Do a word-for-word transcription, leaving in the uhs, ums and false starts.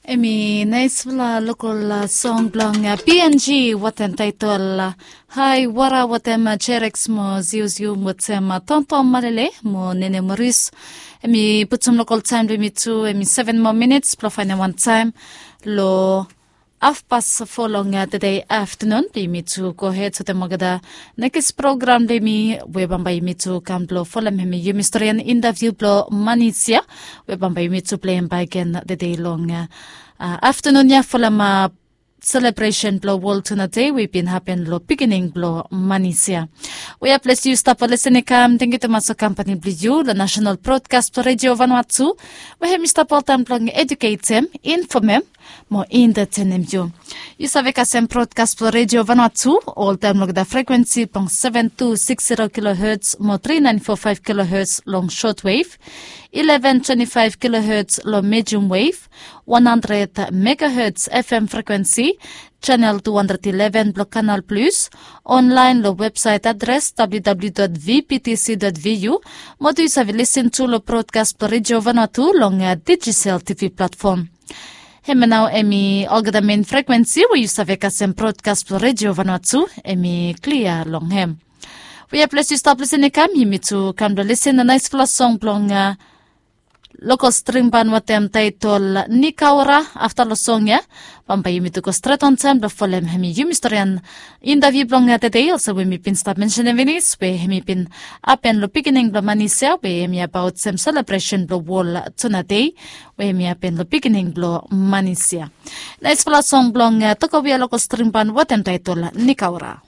Em i naispela lokol song bilong png watem taitol hai wara watem jereks mo ziuziu watem tonton malele mo nene moris. Em i putum lokol taim bilong yumi tu em i seven moa minits bilong fainem wantaim long hafpas fo long tedei aftanun bilong yumi tu gohed sotem olgeta nekis program bilong yumi we bambae yumi tu kam bilong folem em i yumi storian intaviu bilong manisia we bambae yumi tu pleim baik gen tedei long aftanun ya folem selebresen bilong wol tuna dei we i bin hapen long pikinini bilong manis ya. We ya ples yu stap olesen i kam tengiu tumas long kampani bilong yu long nasional brodkas bilong redio vanua tu we hem i stap oltaim bilong eduketem, infomem mo entetenem yu. Yu save kasem brodkas bilong redio vanua tu oltaim long da frekuensi bilong seven two six zero kilohertz mo three nine four five kilohertz long shortwave, eleven twenty five kilohertz long medium wave, one hundred megahertz F M frekuensi, channel two hundred eleven bilong Kanal Plus, online long website adres www.vptc.vu, mo tu yu save lisin tu long brodkas bilong redio vanua tu long digital T V platform. Hemia nau em i olgeta men frekuensi we yu save kasem brodkas bilong redio vanua tu em i klia long hem. We ya ples yu stap lisin i kam yumi tu kam bilong lisin na naispela song bilong lokol strimban watem taitol nikaura. Afta long song ya bambae yumi tu go stret wantaim bilong folem em i yumi storian intaviu bilong tedei olsem we mi bin stap mensenem pinis we em i bin hapen long pikinini bilong manisia we em i abaut sem selebresen bilong wol tuna dei we em i hapen long pikinini bilong manisia. Naispela song bilong tokowia lokol strimban watem taitol nikaura.